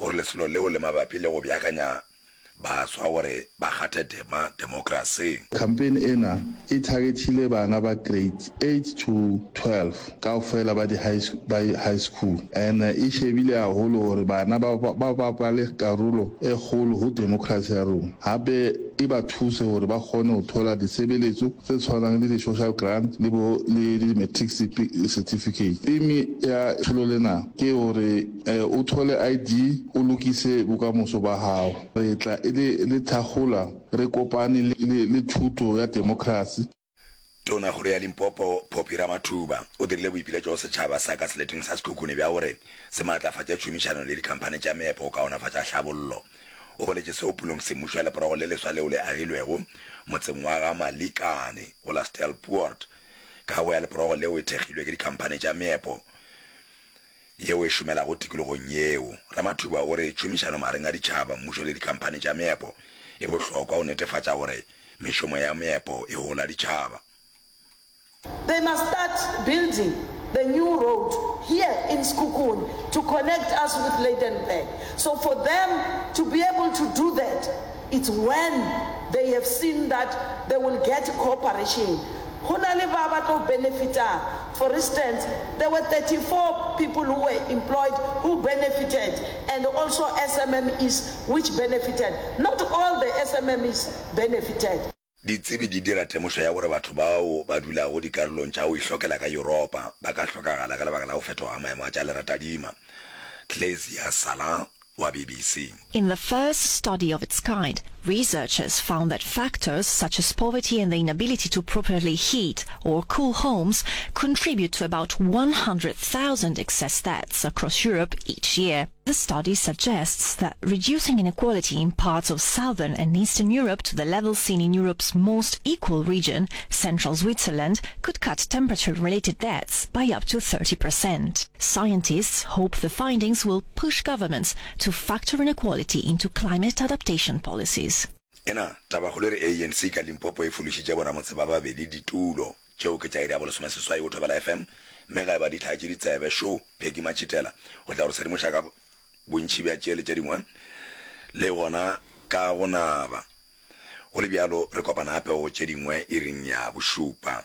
O re lesolo leo le mabapi le go beakanya baswa gore ba kgathe tema demokrasing. Campaign ena e targethile bana ba grades eight to 12 kaofela ba di high ba high school and e shebile haholo hore bana ba ba bapale karolo e kgolo ho democracy ya rona hape e ba thuse hore ba kgone ho thola ditshebeletso tse tshwanang le di-social grant le bo le di-matric certificate. Theme ya tsholo lena ke hore o thole ID o lokise bokamoso ba hao. Re tla e le le thakgola re kopane le le thuto ya demokrasi. Tonakgolo ya Limpopo, Phophi Ramathuba, o dirile boipiletšo go setšhaba sa ka seleteng sa Sekhukhune bja gore se maatlafatše tšhomišano le dikhamphani tša meepo go kaonafatša hlabollo. O boletše seo pulong semmušo ya leporogo le leswa leo le agilwego motseng wa ga Malikane go la Steelpoort. Kago ya leporogo leo e thekgilwe ke dikhamphani tša meepo yeo e šomelago tikologong yeo. Ramathuba o re tšhomišano magareng a ditšhaba, mmušo le dikhamphani tša meepo e bohlokwa go netefatša gore mešomo ya meepo e hola ditšhaba. They must start building the new road here in Sekhukhune to connect us with Lydenburg. So for them to be able to do that, it's when they have seen that they will get cooperation. Go na le ba ba tlo benefitang. For instance, there were 34 people who were employed who benefited and also SMMEs which benefited. Not all the SMMEs benefited. Ditsebi di dira temošo ya gore batho bao ba dulago dikarolong tša go ihlokela ka Yuropa ba ka hlokagala ka lebaka la go fetoga ga maemo a tša leratadima. Klezia Salah wa BBC. In the first study of its kind, researchers found that factors such as poverty and the inability to properly heat or cool homes contribute to about 100,000 excess deaths across Europe each year. The study suggests that reducing inequality in parts of southern and eastern Europe to the level seen in Europe's most equal region, central Switzerland, could cut temperature-related deaths by up to 30%. Scientists hope the findings will push governments to factor inequality into climate adaptation policies. Ena tabakgolo e re ANC ka Limpopo e fološitše boramotse ba babedi ditulo tšeo ke tša iri ya bolesomeseswai go Thobela FM mme ga e ba di hlaetše ditsebe šo Peggy Matšhitela o tla go re sedimoša ka bontši bja tše le tše dingwe le gona ka go naba. Go le bjalo re kopana gape go tše dingwe iring ya bošupa.